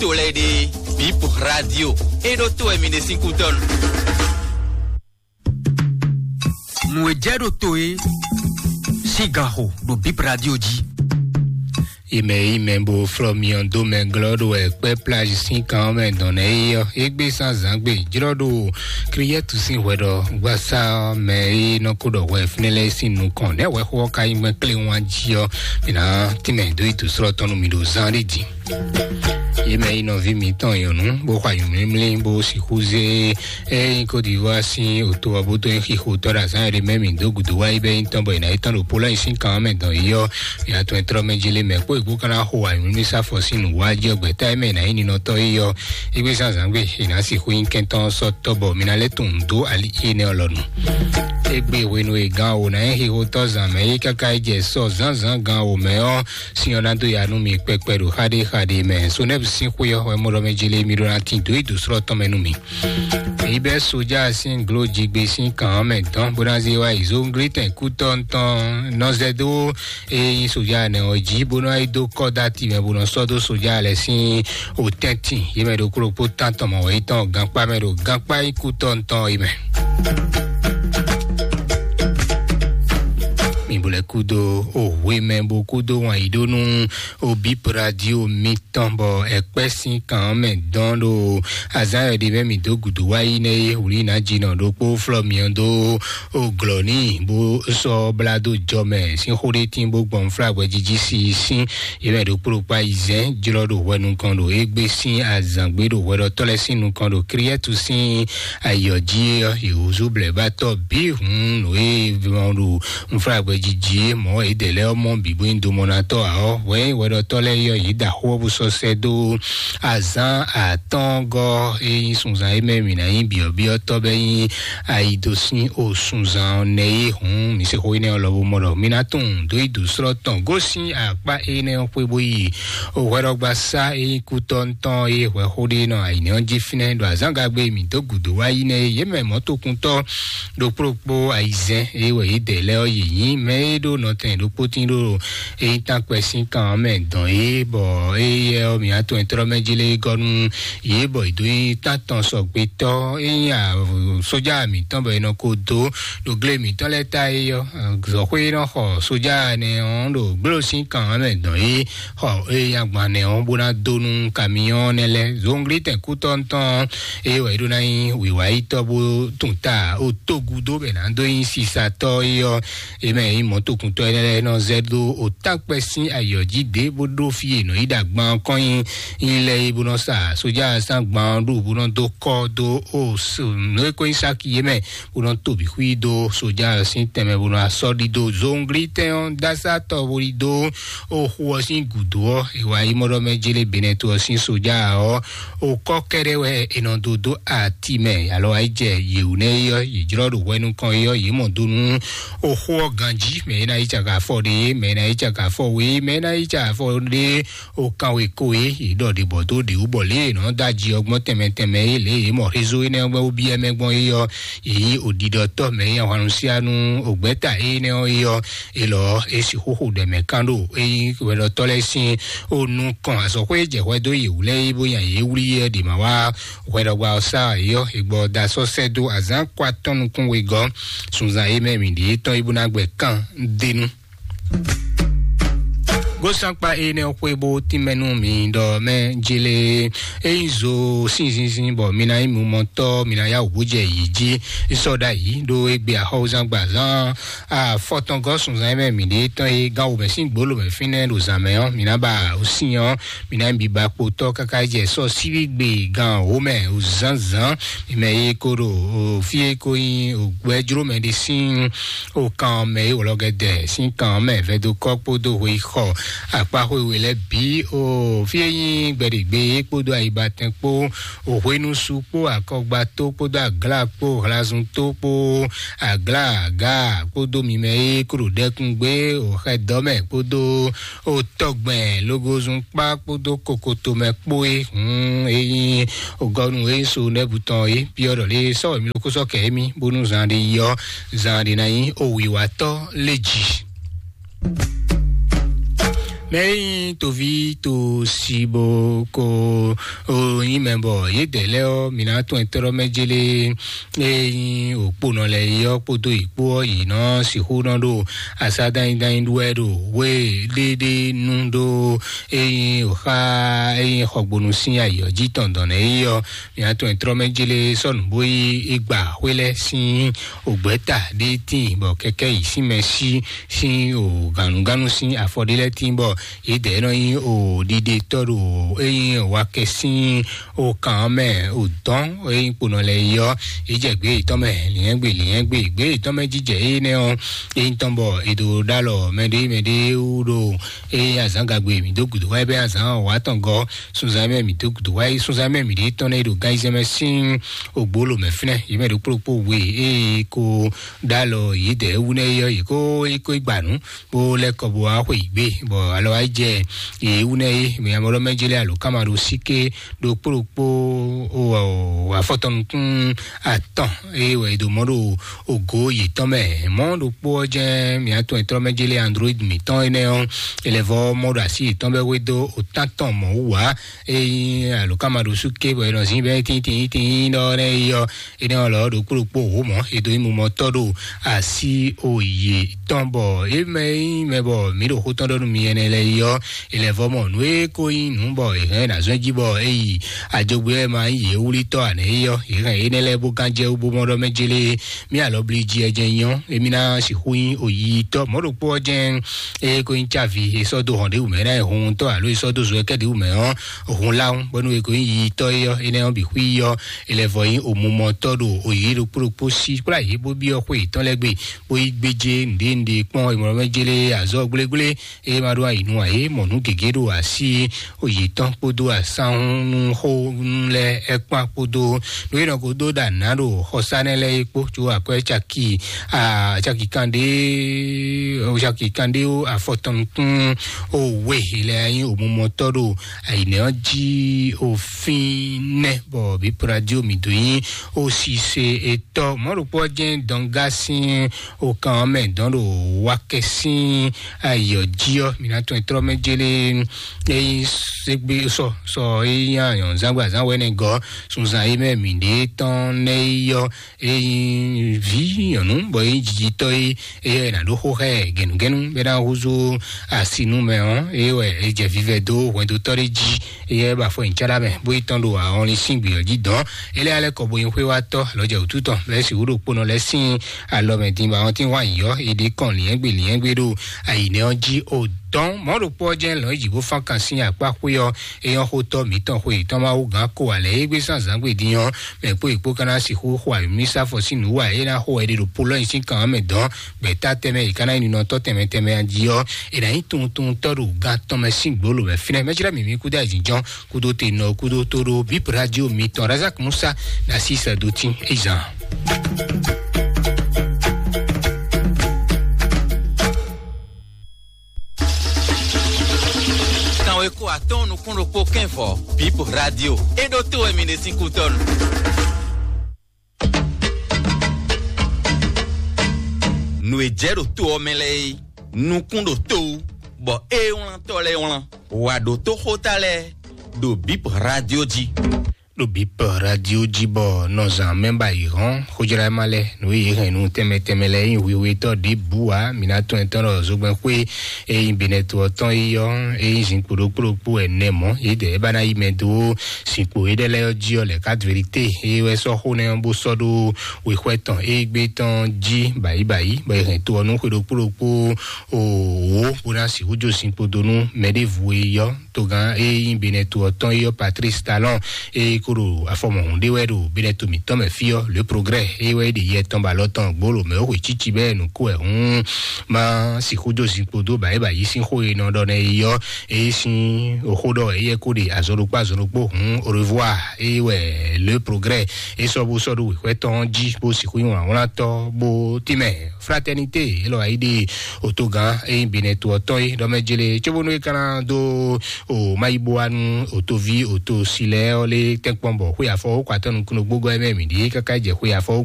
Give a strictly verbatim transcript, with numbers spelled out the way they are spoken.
to lɛ́ɛ ɖe, Bip Radio, é ɖó to wɛ mi ɖe sín kútɔ́nu. Nǔ e jɛ ɖo to e sín ganxo ɖo Bip Radio jí. Ime yi mɛ bo flɔ miɔ do mɛ glɔ ɖo ɛkpɛ plage sín kan mɛ dɔn nɛ yi ɔ, egbe san zangbe jlɔ ɖo Kriyɛtu sín hwɛ ɖɔ gbasa mɛ yi nɔ ko ɖɔ hwɛ fínɛ lɛ sín nukɔn nɛ hwɛ xó ɔ ka yi mɛ kle wan jí ɔ, mi na tínmɛ dó yi dǒ srɔ́ tɔn nú mi ɖo zan ɖé din. Yi mɛ yi nɔví mitɔn nyɔ̌nu bó xɔ ayǔmlímlí bó sixú zé ényí Côte d'Ivoire sín òto ɔ́ bó dó nyí xixo tɔ́ ɖo azǎn ɖé mɛ mǐ dó gǔdo wá yi bɛ́ nyí tɔn bɔ è nǎ yi tɔn ɖo Pologne sín kan mɛ dɔn yi ɔ́, mǐ atɔn e tlɔ́ mɛ jí lé mɛ kpó è kpó ka ná xo ayǔmlímlí sáfɔ sín nǔ wá jí ɔ́ gbɛ̌ta e mɛ è nǎ nyí ninɔtɔ́ yi ɔ́, é gbé zán zǎn gbe è nǎ sixú nyí kɛntɔ́ sɔ́ tɔ́ bɔ mi ná lɛ́ tunwun dó ali énɛ́ ɔ́ lɔ nu. Égbé hwenu e gan wǒ ná nyí xixotɔ́ zǎn mɛ é káká yi jɛ sɔ zǎnzǎn gan wǒ mɛ ɔ́, sin ɔ́ ná dó ya nú mi kpɛkpɛ ɖo xaɖéxaɖé mɛ. Sonɛ́bu sín xwé ɔ́ wɛ mɔ ɖɔ mɛ jele mi ɖó ná tin dǒ yi dǒ slɔ́ tɔn mɛ nú mi. Èyí bɛ́ sójà sín gló jigbe sín kàn ɔ́ mɛ dɔn bó ná zé wá yi zónglítɛn kútɔ́ tɔn nɔ zɛ dó e nyí sójà nɛ ɔ́ jí bó nɔ yi dó kɔ́ dó ati mɛ bó nɔ sɔ́ dó sójà lɛ́ɛ sín òtɛ́ntin yě mɛ ɖokpó ɖokpó tán tɔn mɔ̌ wɛ yi tɔn gankpá mɛ ɖo gankpá yi kú tɔn tɔn yi mɛ. Mi bo lɛ kúdo o hwe mɛ bo kúdo wan yi ɖó nú o Bip Radio mitɔn bɔ ɛkpɛ sín kan mɛ dɔn ɖo azán yɔ ɖe mɛ mi dó gǔdo wá yi nɛ ye wlí ná jinɔ ɖokpó flɔ miɔ dó o glɔ ní bó sɔ́ blá dó jɔ mɛ sín xó ɖé tín bó gbɔn flá hwɛjiji si sín yě mɛ ɖokpó ɖokpó ayizɛ́n jlɔ́ ɖo hwɛ nukɔn ɖo égbé sín azǎngbé ɖo hwɛɖɔtɔ́ lɛ́ɛ sín nukɔn ɖo Kriyɛ́tu sín ayǐ ɔ́ jí ɔ́, yě húzú blɛ̌bátɔ́ bǐ hun nǔ e mɔ ɖo nflágbɛ́ jí jí é mɔ̌ é dɛ lɛ́ɛ ɔ́ mɔ bǐ bó nyí domɔnatɔ́ ǎ ɔ́, hwɛ nyí hwɛɖɔtɔ́ lɛ́ɛ yɔ yě da xó ɔ́ bó sɔ́ sɛ́ dó azǎn atɔ́ɔ́ngɔ́ e nyí sunzan é mɛ mǐ ná nyí byɔ̌byɔ́tɔ́ bɛ́ nyí ayi dó sín o sunzan ɔ́ nɛ́ é hǔn mǐ se xó énɛ́ ɔ́ lɔ bó mɔ ɖɔ mi ná tunwun dó yi dǒ slɔ́ tɔn gosín akpá énɛ́ ɔ́ xwé bó yi o hwɛɖɔgbasá e nyí kútɔ́ tɔn e hwɛxó ɖé nɔ ayǐnɛ́ ɔ́ jí fínɛ́ ɖo azǎngagbe mǐ dó gǔdo wá yi nɛ́ é yě mɛ mɔ̌tokuntɔ́ ɖokpó ɖokpó ayizɛ́n e wɛ yě dɛ lɛ́ɛ ɔ́ yě nyí mɛ e ɖó nɔtɛn ɖokpó tín ɖo e nyí tánkpɛ sín kan ɔ́ mɛ dɔn é bɔ éyɛ́ ɔ́ mǐ atɔn e tlɔ́ mɛ jí lé gɔ́ nú yě bɔ è dó nyí tántɔn sɔgbétɔ́ é nyí sójà mǐtɔn bɔ è nɔ ko dó ɖo glé mǐtɔn lɛ́ɛ ta é ɔ́ zɔ̌xwé e nɔ xɔ sójà nɛ ɔ́ ɖo gblo sín kan ɔ́ mɛ dɔn é xɔ eye agban nɛ ɔ́ bó ná dó nú kamiyɔ́n nɛ́ lɛ́ɛ zongli tɛn kútɔ́ tɔn eye wɛ é ɖó ná nyí wǐwáyítɔ́ bó tún ta o tógúdó bɛ ná dó nyí sisatɔ́ é ɔ́ é mɛ nyí mɔ̌tokuntɔ́ énɛ́ lɛ́ɛ nɔ zɛ dó o tánkpɛ sín ayǐ ɔ́ jí dě bó ɖó fí e nɔ yi ɖo agban ɔ́ kɔn nyi nyi lɛ́ɛ é bó nɔ sa sójà sín agban ɔ́ ɖu bó nɔ dó kɔ́ dó o nǔ e ko nyí sáki é mɛ bó nɔ to bǐ xwí dó sójà ɔ́ sín tɛnmɛ bó nɔ asɔ́ ɖidó zongli tɛn ɔ́ dásátɔ bó ɖidó o xu ɔ́ sín gǔdo ɔ́ è wá yi mɔɖɔ mɛ jélé benɛto ɔ́ sín sójà ɔ́ o kɔ́ kɛ́ɖɛ́ wɛ è nɔ dó dó ati mɛ alɔ wá yi jɛ yěwú nɛ́ é ɔ́ yě jlɔ́ ɖo hwɛ nukɔn é ɔ́ yě mɔ dó nú o xu ɔ́ ganjí mɛ é ná yi caka afɔ ɖé mɛ é ná yi caka afɔ wé mɛ é ná yi caka afɔ ɖé o kan wé ko é yě ɖɔ ɖě bɔ dó ɖě wú bɔ lě è nɔ dó aji ɔ́ gbɔn tɛnmɛ tɛnmɛ é lě yě mɔ rézo énɛ́ ɔ́ gbɛ́ wú byɔ́ mɛ gbɔn é ɔ́ yě nyí òɖiɖɔtɔ́ mɛ é ahwannu sí anú ògbɛ́ta énɛ́ ɔ́ é ɔ́ é lɔ é sixú xo ɖɔ mɛ kán ɖo é nyí hwɛɖɔtɔ́ lɛ́ɛ sín ó nú kɔn azɔ̌xwé jɛ hwɛ dó yě wú lɛ́ɛ é bó nya yě wlí é ɖě ma wá hwɛɖɔgba ɔ́ sá é ɔ́ é gbɔ da sɔ́ sɛ́ dó azǎn kɔ atɔ́ nukún wegɔ́ sunzan é mɛ mǐ ɖě tɔn é bó ná gbɛ kán dénú. Gósankpa énɛ́ xwé bó tínmɛ nú mi ɖɔ mɛ jele é nyí zo sínzínzín bɔ mi ná nyí mumɔtɔ́ mi ná yá wǔ bó jɛ yǐ jí sɔ́ ɖ'ayǐ ɖó égbé axɔ́wúzán gbazán afɔtɔngɔ́ sunzán mɛ mǐ ɖe tɔn e gán wǒ mɛ sín gbǒ lǒ mɛ fínɛ́ ɖo zǎn mɛ ɔ́ mi ná ba sin ɔ́ mi ná nyí biba kpotɔ́ káká jɛ sɔ́ síbígbe gán wǒ mɛ zǎnzǎn mi mɛ e ko ɖo fí e ko nyí gbɛjló mɛ ɖé sín o kan mɛ e wlɔ gɛdɛ sín kan mɛ vɛdokɔ kpódó hwexɔ akpa xwé we lɛ bǐ o fí e nyí gbɛɖegbe kpódó ayibatɛn kpó o hwenusu kpó akɔgbato kpódó agla kpó hlazunto kpó agla aga kpódó mimɛ e kó ɖo ɖɛkúngbé o xɛdɔmɛ kpódó o tɔgbɛn logozun kpá kpódó kokotomɛ kpó e hun e nyí o gɔnu e so nɛbutɔn e biɔ ɖɔ lé sɔwɛ mi lókó sɔ kɛ émi bónú zan ɖe yi ɔ zan ɖe ná nyí o wiwatɔ lé jì. Mɛ e nyí toví to si bo ko o nyí mɛ bɔ yědɛɛ lɛ́ɛ ɔ́, mǐ ná tɔn ɛtɔ́ɖɔ́ mɛ jélé e nyí òkponɔ lɛ́ɛ é ɔ́ kpódó yě kpó ɔ́, yě nɔ sixú nɔ ɖo asá dányi dányi ɖú wɛ ɖo wé ɖéɖé nú ɖó e nyí òxá e nyí xɔgbonu sín ayǐ ɔ́ jí tɔn dɔn nɛ́ é ɔ́. Mǐ ná tɔn ɛtɔ́ɖɔ́ mɛ jélé sɔ́ nǔ bó yí igba xwé lɛ́ɛ sín ògbɛ́ta ɖé tíin bɔ kɛkɛ yi sín mɛ sí sín o gǎnugǎnu sín afɔ ɖé lɛ́ɛ tíin bɔ yědɛɛ nɔ nyí o ɖiɖetɔ́ ɖo e nyí wakɛ sín o kan ɔ́ mɛ o dɔn e nyí kponɔ lɛ́ɛ yi ɔ́, yě jɛ gbě yětɔn mɛ lǐnyɛ́gbe lǐnyɛ́gbe gbě yětɔn mɛ jijɛ énɛ́ ɔ́, e nyí tɔn bɔ è ɖo ɖó alɔ mɛɖé mɛɖé wú ɖo e nyí azǎn gagbe mǐ dó gǔdo wá bɛ́ azǎn wǎ tɔn gɔ́ sunzan mɛ mǐ dó gǔdo wá sunzan mɛ mǐ ɖě tɔn nɛ́ ɖo gán yizɛ́n mɛ sín ògbólò mɛ fínɛ́ yě mɛ ɖokpó ɖokpó we e ko ɖó alɔ yědɛɛ wú nɛ́ é ɔ́, yě kó é kó gba nǔ bó lɛ́ kɔ bó wá xwe yǐ gbé, bɔ alɔ wá yi jɛ yě wú nɛ́ é mɛ amɔɖɔ mɛ jélé alo káma ɖo síké ɖokpó ɖokpó afɔtɔnukún atɔn e wɛ è ɖo mɔ̌ ɖo ògo yětɔn mɛ. Mɔ̌ ɖokpó ɔ́ jɛ́n mǐ atɔn ɛtɔ́ mɛ jélé android mǐtɔn énɛ́ ɔ́, è lɛ́ vɔ́ mɔ ɖo así yětɔn bɛ́ hwedó òtántɔn mɔ̌ wú ǎ. Ényí alǒkanmaɖósú ké bɔ è nɔ zǐn bɛ́ tíntín tíntín ɖɔ nɛ́ yi ɔ́, énɛ́ ɔ́ lɔ ɖokpó ɖokpó wǒ mɔ̌ è dó nyí mumɔtɔ́ ɖo así òye tɔn bɔ é mɛ nyí mɛ bɔ mǐ ɖo xó tɔn ɖɔ nú mi ɛnɛ lɛ́ɛ yi ɔ́, è lɛ́ vɔ́ mɔ nǔ e ko nyí nǔ bɔ è hɛn ná zɔ́n jí bɔ é yi ajogbe wɛ ma nyí yě wlítɔ́ ǎ nɛ́ yi ɔ́, è hɛn énɛ́ lɛ́ɛ bó gán jɛ wú bó mɔ ɖɔ mɛ jélé mí alɔ bli jí ɛ jɛ nyɔ émí ná sixú nyí òyitɔ́ mɔ̌ ɖokpó ɔ́ jɛ́n. Eye ko nyí cávi e sɔ́ dó hɔn ɖěwú mɛ ná hun tɔ́ alo e sɔ́ dó zo ɛkɛ ɖěwú mɛ ɔ́, hun láhún bɔnú e ko nyí yitɔ́ é ɔ́ énɛ́ ɔ́ bǐ xwí ɔ́, é lɛ́ vɔ nyí òmumɔtɔ́ ɖo òyí ɖokpó ɖokpó sí kplá yě bó byɔ́ xwé yětɔn lɛ́ɛ gbe bó yí gbéjé nǔɖé nǔɖé kpɔ́n e mɔ mɛ jélé azɔ̌ gblégblé. Eye ma ɖó ayǐ nú ayé mɔ nǔ gěgé ɖo así yětɔn kpódó asánhúnúxónú lɛ́ɛ ɛkpán kpódó nú é nɔ ko dó ɖa nǎ ɖo xɔsánɛ lɛ́ɛ é kpó, có akwɛ́ caki caki kanɖé caki kanɖé afɔtɔn nukún o we lɛ nyí òmumɔtɔ́ ɖo ayǐnɛ ɔ́ jí o fínɛ́ bɔ bǐ pradio mǐ dó nyí o sise etɔ́ mɔ̌ ɖokpó ɔ́ jɛ́n dɔngá sín o kan ɔ́ mɛ dɔn ɖo wakɛ sín ayɔ jí ɔ́, mǐ ná tɔn trɔ mɛ jélé eyi segbe sɔ sɔ eyi anyɔ zangba zan wɛnɛ gɔ sunzan yi mɛ mǐ ɖe tɔn nɛ yi yɔ eyi vi nyɔnu bɔ eyi jijitɔ yi eye na ɖo xo xɛ gɛnugɛnu bɛ na huzu asinu mɛ ɔ eye wɛ e jɛ vivɛ do hwɛndo tɔ ɖe ji eye ba fɔ nyi tsara mɛ bo yi tɔn ɖo ahɔnlin sín gbiyɔ ji dɔn ele alɛ kɔ bo yin xwe wa tɔ alɔ jɛ wútu tɔn lɛ si wúɖo kponɔ lɛ sín alɔ mɛ din ba ɔn tin wa yi yɔ e ɖe kɔn liɛngbe liɛngbe ɖo ayinɛ ɔ ji o dɔn mɔ ɖokpɔ jɛ lɔn yi ji bo fan kan sín akpa xwe ɔ eyɔn xotɔ mǐtɔn xwe tɔn ma wú gán ko alɛ e gbé sán zangbe din ɔ mɛ kpó yi kpó kana sixú xo ayɔmísá fɔ sín nǔ wa e ná xo ɛɖi ɖo polɔnyi sín kan mɛ dɔn gbɛtá tɛmɛ yi kana yi ninɔtɔ tɛmɛ tɛmɛ adi ɔ e na yi tuntuntɔ ɖo gan tɔn mɛ sín gbolo mɛ finɛ mɛ jira mimi kúdó ayizin jɔn kúdó te nɔ kúdó tó ɖó bip radio mitɔn razak musa na si sɛ do tin ezan. Kanwe ko atɔn nukún ɖokpó kɛn vɔ bip radio e ɖo to wɛ mi ɖe sín kútɔnu. Nǔ e jɛ ɖo to ɔ́ mɛ lɛ́ɛ é nukún ɖo to wú bɔ é wlántɔ́ lɛ́ɛ wlán wǎ ɖó tó xóta lɛ́ɛ ɖo bip radio jí. Ɖo bip radio jí bɔ nɔzan mɛ ba yi hɔn xojra ma lɛ nǔ yi hɛn nu tɛmɛ tɛmɛ lɛ yi hwihwitɔ ɖi bu wa mina tɔn etɔn ɖɔ zogbɛn xwe eyi benɛto ɔtɔn yi yɔ eyi zin kpoɖo kpoɖo kpo ɛnɛ mɔ yi dɛ ba na yi mɛ do sinkpo yi ɖe lɛ yɔ jí ɔ lɛ ka verite eyi wɛ sɔ xo nɛ bó sɔ ɖo wexwɛ tɔn eyi gbé tɔn jí bayi bayi bɔ yi hɛn to ɔ nu xwe ɖo kpoɖo kpo o wo bó na si hu jo sinkpo do nu mɛ ɖe vu yi yɔ togán e nyí benɛto ɔtɔn yi yɔ patrice talon e kó ɖo afɔmɔhun ɖé wɛ ɖo benɛto mǐtɔn mɛ fí ɔ le progrès e wɛ ɖi yɛ tɔn ba lɔ tɔn gbolo mɛ ó xwe tsitsi bɛ nukú ɛ hún ma sixú dó zinkpo dó ba é ba yí sín xó e nɔ ɖɔ nɛ yi yɔ e sín oxó ɖɔ e yɛ kó ɖe azɔɖokpó azɔɖokpó hún au revoir e wɛ le progrès e sɔ bó sɔ ɖo wěxwɛ tɔn jí bó sixú nyi wlánwlán tɔ bó tínmɛ fraternité élɔ́ ayíɖe òtogán eyín benɛto ɔtɔn é ɖɔmɛ jele cóbónú é kana dó o mayiboanu òtoví òto silɛ ɔlé tɛnkpɔn bɔ xwe afɔ ó kɔ atɔnu kúnú gbógɔ ɛmɛ mǐ ɖíe káká jɛ xwe afɔ ó